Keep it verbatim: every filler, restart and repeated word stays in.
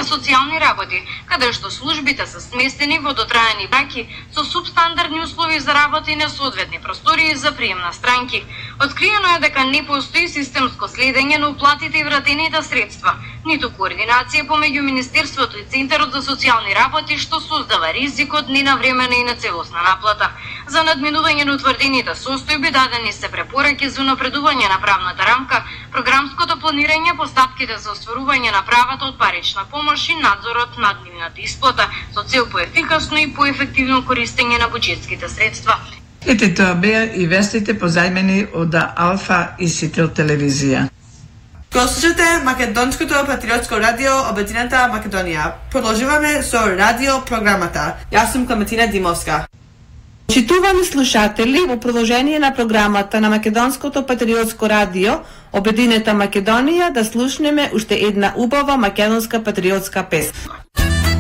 социјални работи, каде што службите се сместени во дотраени браки со субстандардни услови за работа и несоодветни простории за прием на странки. Откриено е дека не постои системско следење на уплатите и вратените средства, ниту координација помеѓу Министерството и Центарот за социјални работи, што создава ризикот ненавремена и нецелосна наплата. За надминување на утврдените состојби дадени се препораки за унапредување на правната рамка, програмското планирање, постапките за остварување на правата од парична помош и надзорот над нивната исплата со цел поефикасно и поефективно користење на буџетските средства. Ете тоа беа и вестите позајмени од Алфа и Сител телевизија. Го слушате Македонското патриотско радио Обединета Македонија. Продолжуваме со радио програмата. Јас сум Клементина Димовска. Почитувани слушатели, во продолжение на програмата на Македонското патриотско радио Обединета Македонија да слушнеме уште една убава македонска патриотска песна.